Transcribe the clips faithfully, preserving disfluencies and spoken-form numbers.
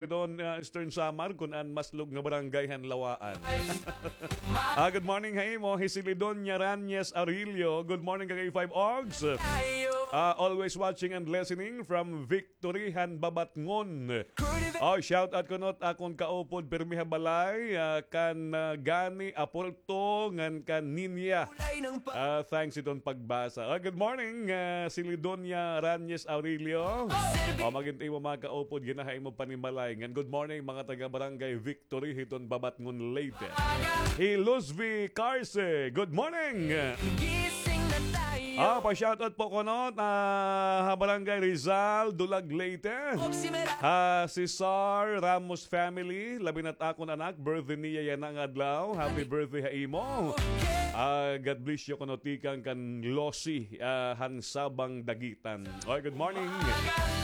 Don, ah, Eastern Samar, kun an maslog nga barangay han Lawaan. Ah, good morning ha imo, hi Silidonia Ranyes Arillo. Good morning, ka K five Ogs. Ah, always watching and listening from Victory han Babatngon. Oh, shout out kuno it akon kaupod pirmi ha balay, ah, kan, ah, Gani Apolto ngan kan Ninya. Ah, thanks iton pagbasa. Ah, good morning, ah, Silidonia Ranyes Aurelio. Oh, magin it imo mga kaupod, ginaha imo panimalay. Ngan good morning, mga taga Barangay Victory, hiton Babatngon, Leyte. Hi Luzvi Carse, good morning. Ah, pa-shoutout po kuno, ah, ha Barangay Rizal, Dulag, Leyte. Ha Cesar Ramos family, labi na it akon anak, birthday niya yana nga adlaw. Happy birthday ha imo. Ah, God bless you kuno tikang kan Losi, ah, han Sabang Dagitan. Oy, good morning.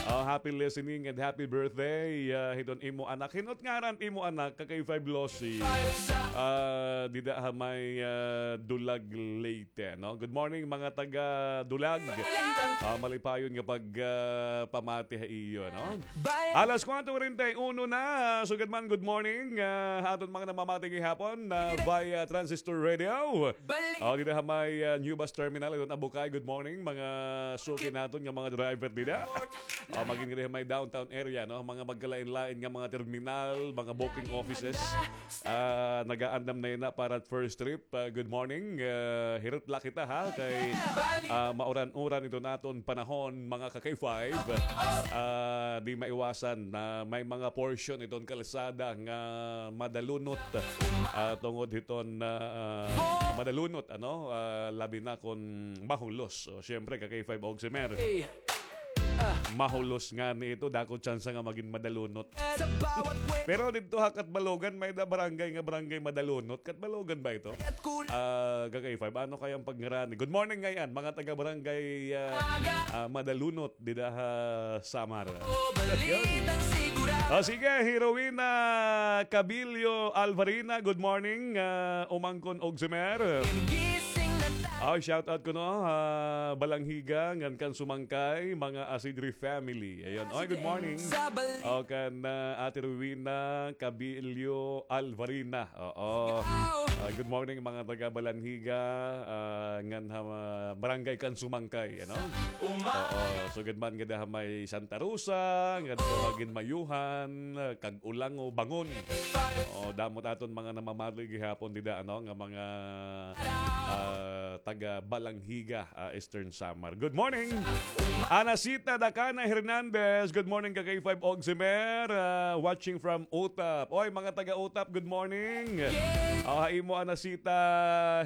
Ah, happy listening and happy birthday, ah, hiton imo anak. Hin-o it ngaran imo anak, ka K five Losi? Ah, dida ha may, ah, Dulag, Leyte, no? Good morning, mga taga Dulag. Ah, malipayon nga pag, ah, pamati ha iyo, no? Alas kuwatro kuwarenta y uno na. Sugad man, good morning, ah, ha aton mga namamati gihapon, ah, via Transistor Radio. Oh, dida ha may, ah, new bus terminal, iton Abukay. Good morning, mga suki naton nga mga driver dida. Oh, magin dida ha may downtown area, no? Mga magkalain-lain nga mga terminal, mga booking offices. Ah, nagaandam na yana para first trip. Ah, good morning. Ah, hirot la kita, ha, kay, ah, mauran-uran iton aton panahon, mga ka K five. Ah, di maiwasan na may mga portion iton kalsada nga madalunot, ah, tungod hiton, ah, madalunot, ano, ah, labi na kon mahulos. So, syempre, ka K five Ogs Emer. Mahulos ngani ito, dako tsansa nga magin madalunot. Pero didto ha Catbalogan, may-ada barangay nga Barangay Madalunot. Catbalogan ba ito? Ah, ka K five, ano kaya an pagngaranan? Good morning ngay-an, mga taga Barangay, ah, ah, Madalunot, dida ha Samar. Yun. Oh, sige, hi Rowena Cabilio Alvarina, good morning, ah, Umangkon Ogs Emer. Oh, shout out kuno ha Balanghiga ngan kan Sumangkay, mga Asidri family. Ayun. Oy, good morning. O, kan, ah, Ate Rowena Cabilio Alvarina. Oo. Ah, good morning, mga taga Balanghiga, ah, ngan ha, ah, Barangay kan Sumangkay, ano? Oo. Sugad man gad ha may Santa Rosa, ngadto ha Ginmayuhan, ah, Cag-ulango, Bangon. O, damo it aton mga namamati gihapon dida, ano, nga mga, ah, taga Balanghiga, ah, Eastern Samar. Good morning. Anacita Dacana Hernandez, good morning, ka K five Ogs Emer, ah, watching from Utap. Oy, mga taga Utap, good morning. Ah, ha imo, Anacita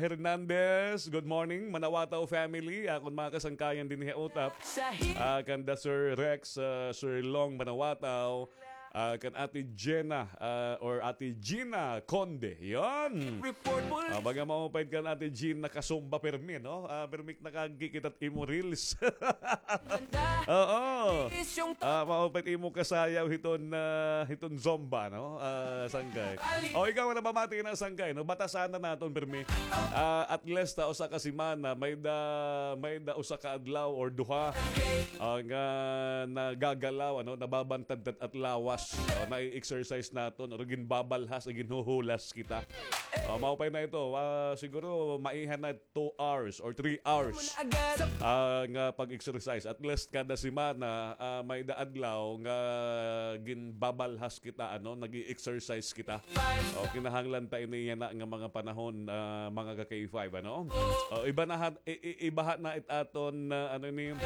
Hernandez, good morning. Manawataw family, akon mga kasangkayan dinhi ha Utap. Ah, kanda Sir Rex, ah, Sir Long Manawataw, ah, kan Ate Jenna, ah, or Ate Gina Conde. Yon. Ah, baga maupay kan Ate Gina kasumba permi, no? Ah, permi nakagkikita it imo reels. Oo. Ah, maupay it imo kasayaw hiton, ah, hiton zumba, no? Ah, sangkay. O, ikaw, namamati na, sangkay, no? Batasan na naton permi. Ah, at least, ah, usa ka semana, may-ada, may-ada usa ka adlaw or duha, ah, nga nagagalaw, ano, nababantad it at lawas. O, nai-exercise naton, or ginbabalhas, ginhuhulas kita. O, maupay na ito. Ah, siguro, maiha na two hours or three hours, ah, nga pag-exercise. At least kada semana, ah, may-ada adlaw nga ginbabalhas kita, ano, nag-i-exercise kita. O, kinahanglan ta ini yana nga mga panahon, ah, mga ka K five, ano? O, iba na hat-, i-, i-, ibaha na it aton, ah, ano ni,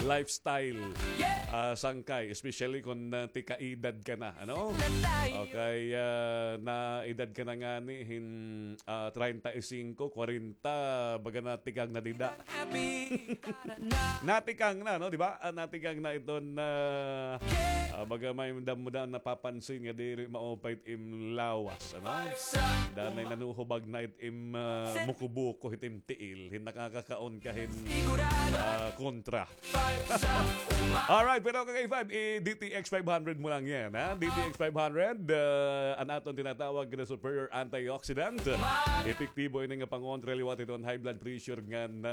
lifestyle, ah, sangkay, especially kon, ah, tika-edad ka na, ano? Okay, ah, na-edad ka na ngani hin, ah, treinta y cinco, kwarenta, baga natikang na dida. Natikang na, no, di ba? Ah, natikang na iton, ah, ah, baga may damo da napapansin nga diri maupay it im lawas, ano? Danay nanuhubag na it im, ah, mukubuko, it im tiil, hin nakakakaon ka hin, ah, kontra. Alright, pero ka K five, i-D T X five hundred mo lang. Yan, ha? D T X five hundred, ah, an aton tinatawag na superior antioxidant. Epektibo ini nga pangontra liwat hiton high blood pressure ngan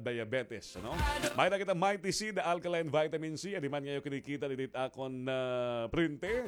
diabetes, ano? May-ada kita Mighty Seed alkaline vitamin C, adi man nga iyo kinikita didi ha akon, ah, prente.